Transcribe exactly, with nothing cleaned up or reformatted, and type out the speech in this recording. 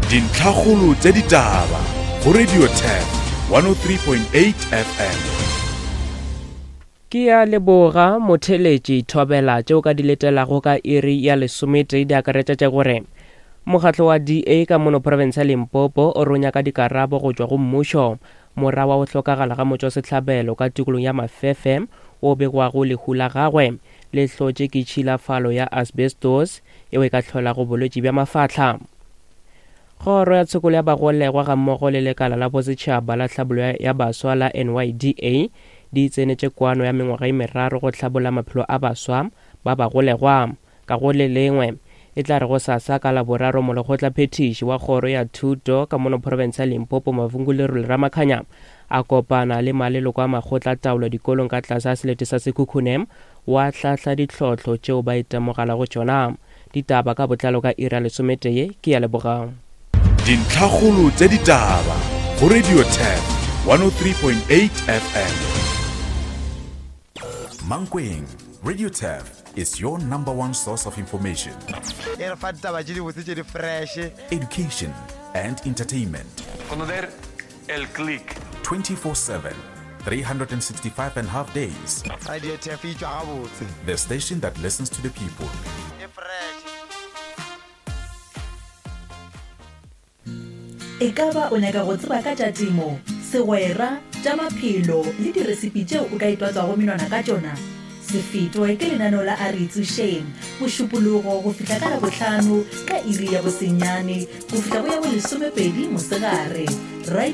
Dintlhakgolo tša ditaba go Radio Turf one oh three point eight F M. Ke ya leboga motheletši thobela tšeo ka di letelago ka iri ya lesometee di akaretša tša gore mokgatlo wa D A ka mono province ya Limpopo o ronya ka dikarabo go tšwa go mmušo mora wa go hlokagala ga motšwasehlabelo ka tikolong ya Mafefe o begwago lehu la gagwe le hlotše ke tšhilafalo ya asbestos yeo e ka hlolago bolwetši bja mafahla. Kgoro ya tshokolo ya bagolegwa gammogo le lekala la bosetšhaba la tlhabollo ya baswa la N Y D A di tsenetše kwano ya mengwaga e meraro go hlabolla maphelo a baswa ba bagolegwa. Ka go le lengwe e tla re go sasa ka laboraro molekgotla phethiši wa kgoro ya thuto ka mono province ya Limpopo Mavungu Lerole Ramakhanya a kopana le maleloko a makgotla taolo dikolong ka tlase a selete sa Sekhukhune wa hlahla ditlhohlo tšeo ba itemogelago tšona. Ditaba ka botlalo ka iri ya lesometee ke ya lebogang. Dintlhakgolo tša ditaba go Radio Turf one oh three point eight F M. Mankweng, Radio Turf is your number one source of information. E re fa ditaba tše dibotse tše di fresh. Education and entertainment. Conocer el click. twenty-four seven, three hundred and sixty-five and a half days. Radio Turf e tšwa gabotse. The station that listens to the people. E fresh. E ka ba o nyaka go tseba ka tša temo, segwera, tša maphelo le diresipi tšeo o ka itwatswago menwana ka tšona? Se fetwe ke lenaneo la A Re Itsošeng, Mošupologo go fihla ka Labohlano ka iri ya bosenyane go fihla go ya bolesomepedi mosegare. Radio